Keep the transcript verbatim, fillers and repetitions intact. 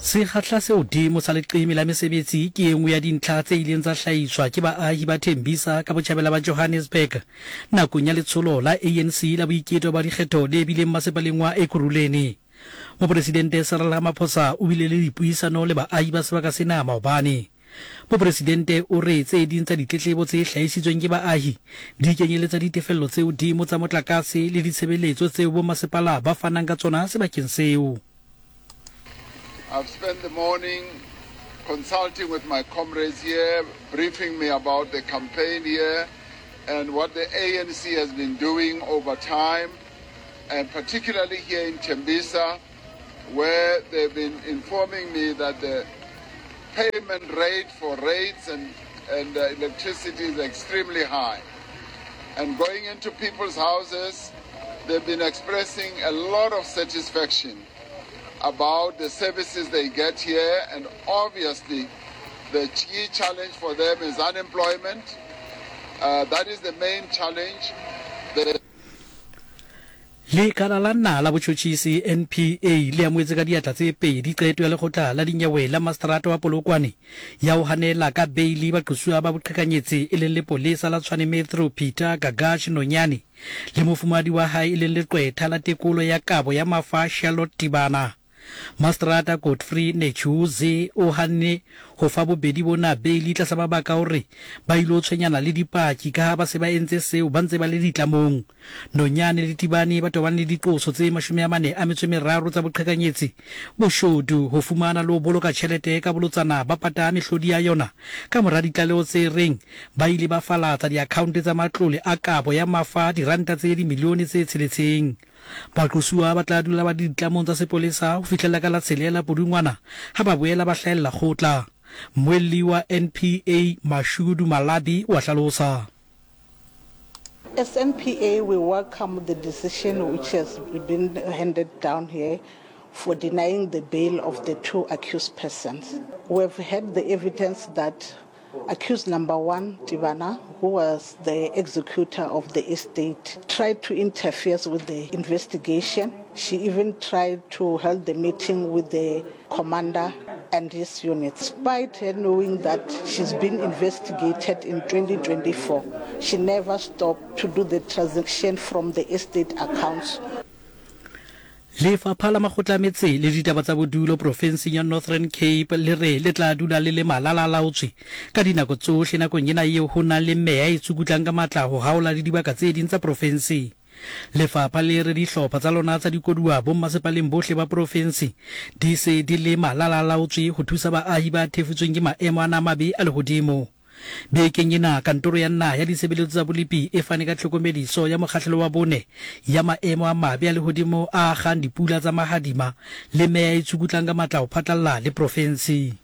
Sekgahla se hodimo sa leqeme la mesebetsi ke e nngwe ya dintlha tse ileng tsa hlahiswa ke baahi ba Tembisa ka botjhabela ba Johannesburg nakong ya letsholo la A N C la boiketo ba dikgetho le bileng masepaleng wa Ekurhuleni. Mopresidente Cyril Ramaphosa o bile le dipuisano le baahi ba sebaka sena maobane. Mopresidente o re tse ding tsa ditletlebo tse hlahisitsweng ke baahi di kenyeletsa ditefello tse hodimo tsa motlakase le ditshebeletso tseo bomasepala ba fanang ka tsona sebakeng seo. I've spent the morning consulting with my comrades here, briefing me about the campaign here and what the A N C has been doing over time, and particularly here in Tembisa, where they've been informing me that the payment rate for rates and, and, uh, electricity is extremely high. And going into people's houses, they've been expressing a lot of satisfaction about the services they get here, and obviously the key challenge for them is unemployment. Uh, that is the main challenge. The Lekala la naha la botjhotjhisi N P A le amohetse ka diatla tse pedi qeto ya lekgotla la dinyewe la maseterata wa Polokwane ya ho hanela ka beili baqosuwa ba boqhekanyetsi e leng lepolesa la Tshwane Metro Peter Gagash Nonyane le mofumahadi wa hae e leng leqwetha la tekolo ya kabo ya mafa Charlotte Tibana. Maseterata Godfrey Netshiuzi o hanne ho fa bobedi bona beili tlasa mabaka a hore ba ilo tshwenyana le dipaki ka ha ba se ba entse seo ba ntse ba le ditlamong. Nonyane le Tibane ba tobane le diqoso tse mashome a mane a metso e meraro tsa boqhekanyetsi, boshodu, ho fumana le ho boloka tjhelete ka bolotsana ba pata mehlodi ya yona ka mora ditlaleho tse reng ba ile ba falatsa diakhaonte tsa matlole a kabo ya mafa diranta tse dimilione tse tsheletseng. Baqosuwa ba tla dula ba le ditlamong tsa sepolesa ho fihlela ka la tshelela Pudungwana ha ba boela ba hlahella kgotla. Mmuelli wa N P A Mashudu Malabi wa hlalosa. As N P A, we welcome the decision which has been handed down here for denying the bail of the two accused persons. We have had the evidence that accused number one, Tibana, who was the executor of the estate, tried to interfere with the investigation. She even tried to hold the meeting with the commander and his unit. Despite her knowing that she's been investigated in twenty twenty-four, she never stopped to do the transaction from the estate accounts. Lefapha la makgotla a metse le ditaba tsa bodulo profenseng ya Northern Cape le re le tla dula le le malala-laotswe ka dinako tsohle nakong ena eo ho nang le meya e tsukutlang ka matla ho haola le dibaka tse ding tsa profense. Lefapha le re dihlopha tsa lona tsa dikoduwa bommasepaleng bohle ba profense di se di le malala-laotswe ho thusa baahi ba thefutsweng ke maemo ana a mabe a lehodimo. Bekeng ena kantoro ya naha ya ditshebeletso tsa bolepi e fane ka tlhokomediso ya mokgahlelo wa bone ya maemo a mabe a lehodimo a akgang dipula tsa mahadima le meya e tsukutlang ka matla ho phatlalla le profense.